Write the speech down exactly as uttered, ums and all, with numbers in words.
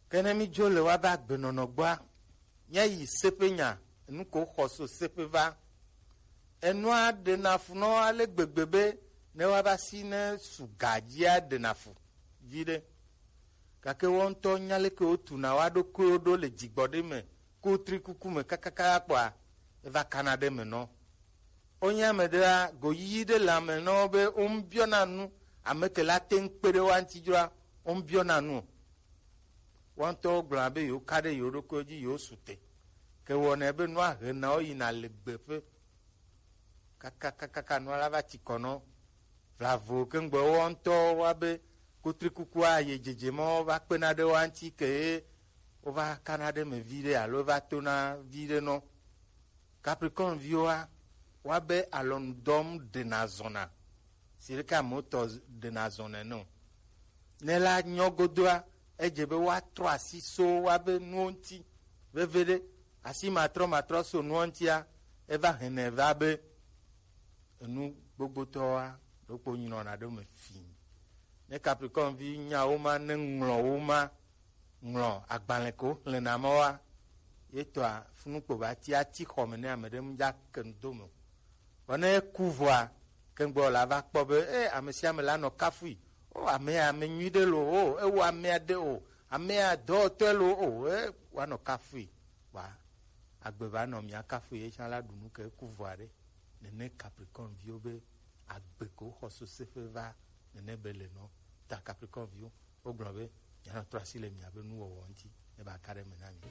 Ke ne mi dzo le wa be agbenɔnɔ gbɔa, mia yi seƒe nya, enu ko xɔ so seƒe va. Enua ɖe na fu nɔ ale gbegbe be ne wa va si ne su ga dzia ɖe na fu vi ɖe. Gake wo ŋutɔ nya leke wo tu na wa ɖokuiwo ɖo le dzigbɔ ɖe me, kutri kuku me kakaka kpɔa, eva kana ɖe me nɔ. Wonye ame ɖea, goyiyi ɖe le ame nɔ be wo ŋu biɔna nu, ame ke la te ŋu kpe ɖe wa ŋuti dzroa, wo ŋu biɔna nu o. Woawo ŋutɔwo gblɔna be yewo ka ɖe yewo ɖokuiwo dzi, yewo su te. Ke wɔnɛ be nua hena wo yina le gbeƒe. Kakakakaka nua la va tsi kɔ nɔ. Vlavo ke ŋgbe woawo ŋutɔwo wa be kutrikukua ye dzedze mɔ va kpena ɖe woa ŋuti ke ye wova kana ɖe me vi ɖe alo va tona vi ɖe nɔ. Capricorne viwoa, woabe alɔnu dɔm ɖena zɔna. Si ɖeke amewo tɔ ɖena zɔna ene o. Ne la nyɔ godoa, edze be woatrɔ asi so woabe nuwo ŋuti. Veviɖe, asi matrɔ matrɔ so nuwo ŋutia, eva hɛnɛ va be enu gbogbotɔwoa, ɖokpo nyrɔna ɖe me fii. Ne Capricorne vi nya wo ma, ne ŋlɔ wo ma, ŋlɔ agbalẽ ko xlẽna ma wa, ye tɔa funu kpo va ti ati xɔ me ne ame ɖe mu dza ke nu do me o. Vɔ ne eku vɔa, ke ŋgbɔ la va kpɔ be, e, ame sia ame la nɔ kafui. O, amea ame nyui ɖe lo, o, ewo amea ɖe o, amea dɔwɔtɔe lo, o, e, woanɔ kafui. Wa agbe va nɔ mia kafui ye tsã la ɖu nu ke eku vɔa ɖe. Nene Capricorne viwo be agbe ko xɔ so seƒe va nene be le nɔ. Ta Capricorne viwo, wogblɔ be, mianɔ trɔ asi le miabe nuwɔwɔ ŋuti, ne ba ka ɖe me na mi.